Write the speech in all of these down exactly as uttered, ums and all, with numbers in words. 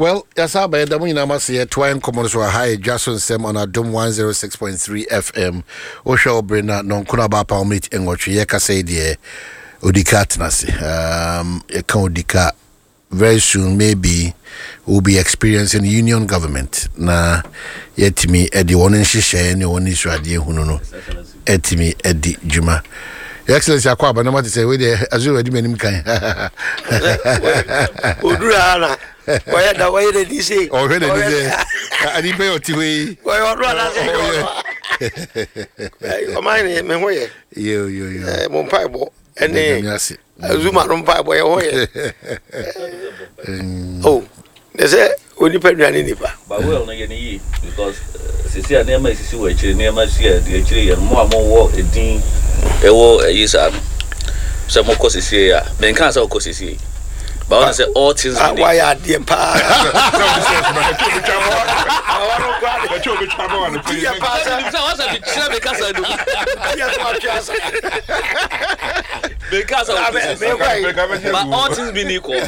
Well, yɛsa aba, yɛda mo nyinaa ma se yɛtoa nkɔmmɔ no so. Aha yɛ Dwa So Nsɛm on Adom one oh six point three F M. Wohwɛ wo bere na nɔnkono aba apa minute nwɔtwe. Yɛkasa yi deɛ, Odika atena ase. um, yɛka Odika, very soon maybe we'll be experiencing union government na yɛtumi ɛde wɔn nhyehyɛeɛ ne wɔn nsuadeɛ hunu no ɛtumi ɛdi dwuma. Your Excellency, akɔ aba na mate sɛ wei deɛ azuro adi m'anim kan. Oduru ha na wɔyɛ da wɔyɛ n'ani se. Ɔhwɛ n'ani sɛ anipa yɛ ɔte hɔ yi. Wɔyɛ ɔno anaasɛ ɛyɛ ɔno a ɔman ne me ho yɛ. Yo yo yo. Ɛɛ, mo mpaebɔ ɛne Nyame ase. Zuma no mpaebɔ yɛ ho yɛ o ne sɛ onipa nua ne nipa. But well no yɛ ne yie because uh, sisi a nneɛma esisi wɔ akyire, nneɛma si a deɛ akyire yɛ no, mo a mowɔ edin ɛwɔ ɛyi saa no sɛ mokɔ sisi yi a, menka sɛ wokɔ sisi yi, but wɔn sɛ all things Ah, being wayɛ adeɛ paa. Yɛ paa sɛ sɛ wɔsɛ mekyerɛ me kasa no. Yɛ so atwe asa. Menka sɛ Ah, wokɔ me- sisi me- but all things being equal no,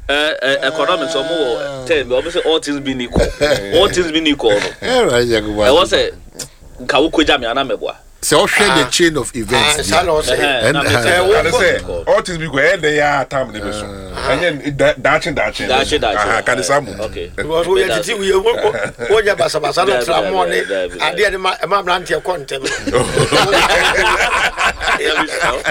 uh, uh, economics ɔmo wɔ term bi, ɔmo sɛ all things being equal, all things being equal no, Ɛwura Yakubu. ɛwɔ sɛ nka wokɔgya me ana mɛboa. Sɛ ɔhwɛ the chain of events Ah, saa na ɔsɛ. Ɛhɛn, na Ɛn- mete ɛn- sɛ Kane sɛ all things be equal, ɛyɛ dɛ yɛ a tam ne bɛ so ɛnyɛ da- daakye daakye. Daakye daakye. Aha, kane saa mu. Okay. Because woyɛ titi woyɛ wonyɛ basabasa no Dabi, tra mɔ ne dabi, dabi. adeɛ ne ma ɛma mmeranteɛ kɔ ntɛm. Dabi,